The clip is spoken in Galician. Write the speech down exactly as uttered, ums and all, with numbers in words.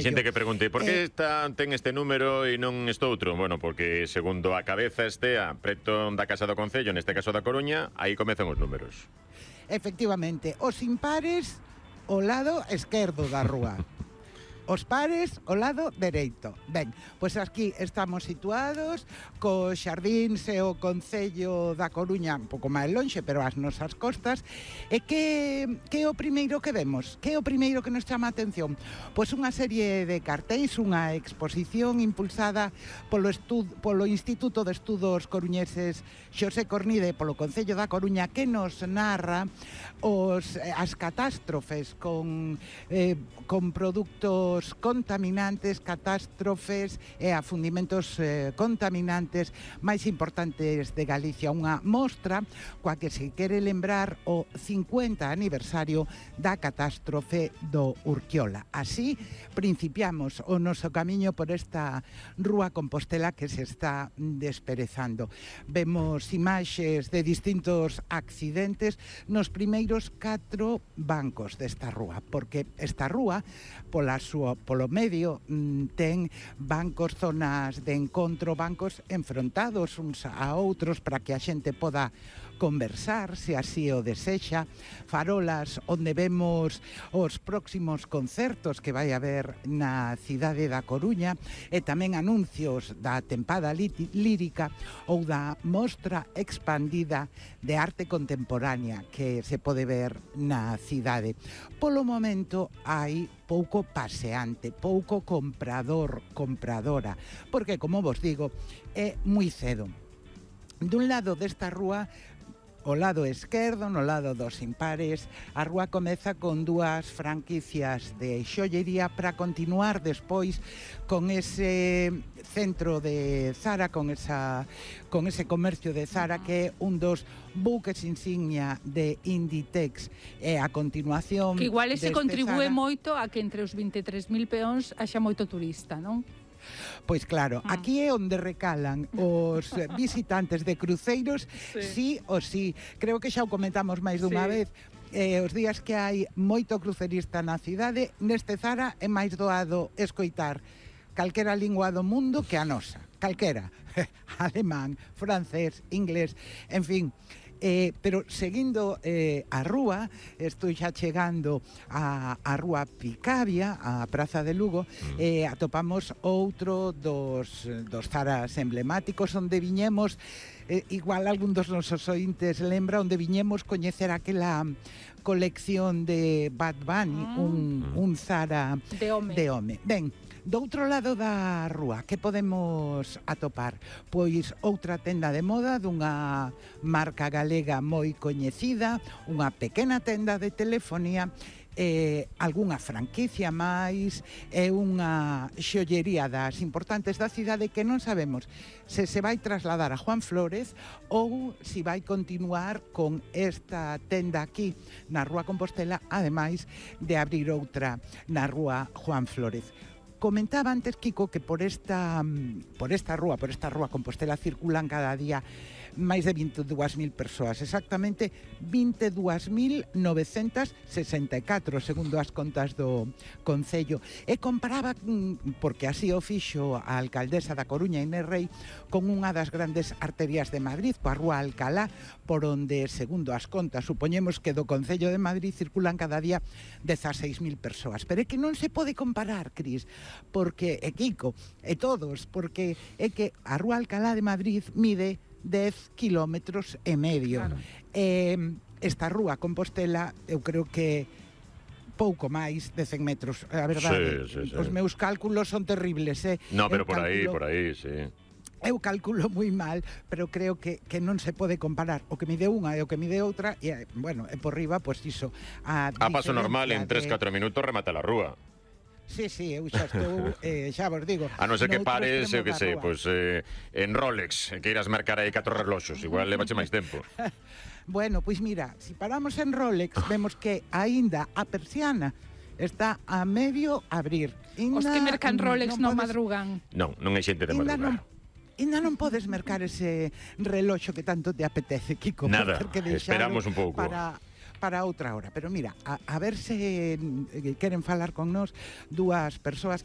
xente que pregunte, por que esta ten este número e non este outro? Bueno, porque segundo a cabeza estea preto da Casa do Concello, neste caso da Coruña, aí comezan os números. Efectivamente, os impares ao lado esquerdo da rúa. Os pares ao lado dereito. Ben, pois aquí estamos situados cos xardíns e o Concello da Coruña un pouco máis lonxe, pero as nosas costas. E que, que é o primeiro que vemos? Que é o primeiro que nos chama a atención? Pois unha serie de cartéis, unha exposición impulsada polo, estud, polo Instituto de Estudos Coruñeses Xosé Cornide, polo Concello da Coruña, que nos narra os, as catástrofes con, eh, con produtos contaminantes, catástrofes e afundimentos eh, contaminantes máis importantes de Galicia. Unha mostra coa que se quere lembrar o cincuenta aniversario da catástrofe do Urquiola. Así, principiamos o noso camiño por esta rúa Compostela que se está desperezando. Vemos imaxes de distintos accidentes nos primeiros catro bancos desta rúa, porque esta rúa, pola súa polo medio, ten bancos, zonas de encontro, bancos enfrontados uns a outros para que a xente poda conversar, se así o desexa, farolas onde vemos os próximos concertos que vai haber na cidade da Coruña e tamén anuncios da tempada lírica ou da mostra expandida de arte contemporánea que se pode ver na cidade. Polo momento hai pouco paseante, pouco comprador, compradora, porque, como vos digo, é moi cedo. Dun lado desta rúa, o lado esquerdo, no lado dos impares, a rúa comeza con dúas franquicias de xollería para continuar despois con ese centro de Zara, con esa con ese comercio de Zara que é un dos buques insignia de Inditex. E a continuación que igual ese contribúe Zara, moito a que entre os vinte e tres mil peóns haxa moito turista, non? Pois claro, aquí é onde recalan os visitantes de cruceiros, sí, sí ou sí. Creo que xa o comentamos máis dunha sí. vez. Eh, os días que hai moito crucerista na cidade, neste Zara é máis doado escoitar calquera lingua do mundo que a nosa. Calquera. Alemán, francés, inglés, en fin. Eh, pero seguindo eh, a rúa, estou xa chegando a, a rúa Picabia, a Praza de Lugo, eh, atopamos outro dos, dos Zaras emblemáticos onde viñemos, eh, igual algún dos nosos ointes lembra, onde viñemos coñecer aquela colección de Bad Bunny, mm. un, un Zara de home. De home. Ben, do outro lado da rúa, que podemos atopar? Pois outra tenda de moda dunha marca galega moi coñecida, unha pequena tenda de telefonía, eh, algunha franquicia máis e unha xollería das importantes da cidade que non sabemos se se vai trasladar a Juan Flórez ou se vai continuar con esta tenda aquí na rúa Compostela, ademais de abrir outra na rúa Juan Flórez. Comentaba antes, Kiko, que por esta por esta rúa, por esta rúa Compostela circulan cada día máis de vinte e dúas mil persoas, exactamente vinte e dúas mil novecentas sesenta e catro, segundo as contas do Concello. E comparaba, porque así o fixo a alcaldesa da Coruña, Inés Rei, con unha das grandes arterias de Madrid, coa rúa Alcalá, por onde, segundo as contas, supoñemos que do Concello de Madrid circulan cada día dezaseis mil persoas. Pero é que non se pode comparar, Cris, porque, e Kiko, e todos, porque é que a rúa Alcalá de Madrid mide dez kilómetros e medio. Claro. Eh, esta rúa Compostela, eu creo que pouco máis de cen metros. A verdade, sí, sí, sí. Os meus cálculos son terribles, eh? No, pero eu por calculo, aí, por aí, sí. Eu calculo moi mal, pero creo que, que non se pode comparar o que mide unha e o que mide outra, e, bueno, e por riba, pois iso. A, a paso normal, en tres catro de... minutos remata la rúa. Sí, sí, eu xa estou, eh, xa vos digo. A non ser que pares, eu que sei, pois eh, en Rolex, que irás marcar aí catro reloxos, igual levache máis tempo. Bueno, pois mira, se si paramos en Rolex, vemos que aínda a persiana está a medio abrir. Inda, os que mercan Rolex non, non podes... madrugan. Non, non hai xente de madrugar. Non, ainda non podes mercar ese reloxo que tanto te apetece, Kiko. Nada, esperamos un pouco. Para... para outra hora, pero mira, a, a ver se queren falar con nós dúas persoas que